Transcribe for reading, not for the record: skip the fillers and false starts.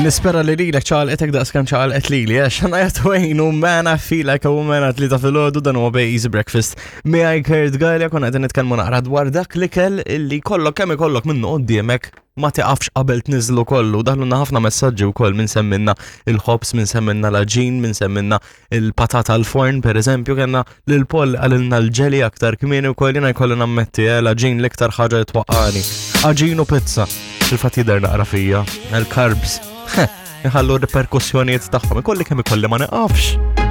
Nispera li lilek ċaqalqetek daqs kemm ċaqalqet lili, għax Shania Twain u Man I Feel Like a Woman għat li ta' filgħodu dan huwa Bej Easy Breakfast. Miegħi Kurt Galea konna qegħdin nitkellmu naqra dwar dak l-ikel illi kollok kemm ikollok minnu quddiemek ma tiqafx qabel tniżlu kollu. Daħlulna ħafna messaġġi wkoll minn semminna il-ħobż, minn semminna l-aġin, minn semminna il-patata al-forn, per eżempju, kellna lil Paul għalilna l-ġeli aktar kmieni wkoll jiena jkolli nammetti eh, l-aġin l-iktar ħaġa li twaqqani. Aġin u pizza. Il-fatt jidher naqra fija, il-carbs. Iħallu riperkussjonijiet tagħhom, ikolli kemm ikolli ma niqafx.